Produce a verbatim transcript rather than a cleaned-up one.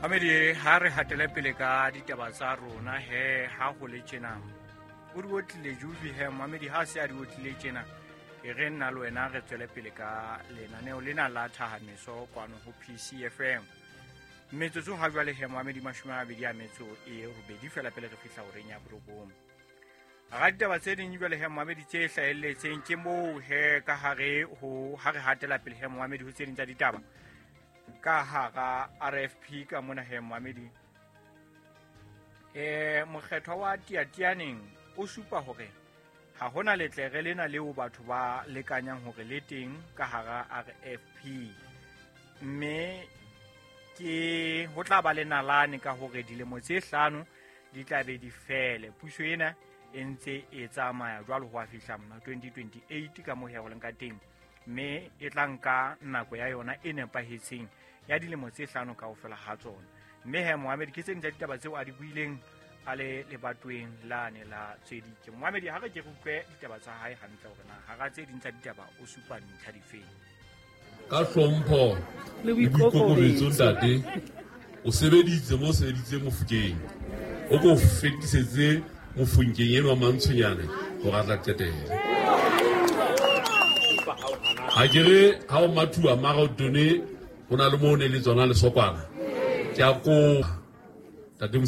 Mamedi, ha re hatele pele ka ditaba tsa rona he ha ho le tjena. O di otlile Juvi he Mamedi, ha se a di otlile tjena, e re nna le wena re tswele pele ka lenaneo lena la Thahameso kwano ho P C F M. Metsotso ha jwale he Mamedi mashome a mabedi a metso e robedi fela pele re fihla horeng ya borobong. Hara ditaba tse ding jwale he Mamedi tse hlahelletseng ke moo he ka hare ho ha re hatela pele he Mamedi ho tse ding tsa ditaba ka hara R F P ka mona he Mamedi. Eh mokgethwa wa Tiatianeng o supa hore ha hona letlere lena leo batho ba lekanyang hore le teng ka hara R F P, mme ke ho tla ba le nalane ka hore dilemo tse hlano di tla be di fele. Puso ena e ntse e tsamaya jwalo ho a fihla mona twenty twenty-eight ka moo ho leng ka teng, mme e tla nka nako ya yona e nepahetseng ya dilemo tse hlano kaofela ha tsona. Mme he Mohammed ke tse ding tsa ditaba tseo a di buileng a le lebatoweng lane la Tshedike. Mohammed, ha re ke re utlwe ditaba tsa hae hantle hore na hara tse ding tsa ditaba o supa ntlha difeng. Ka hlompho le le boikokobetso boikokobetso, ntate, o sebeditse mo sebeditse Mofokeng, o ko fetisetse Mofokeng enwa Mantshonyane hore a tla qetela. Ha ke re ha o mathuwa mara o tone, ho na le moo ne le tsona lesokwana. Ke a kopa, ntate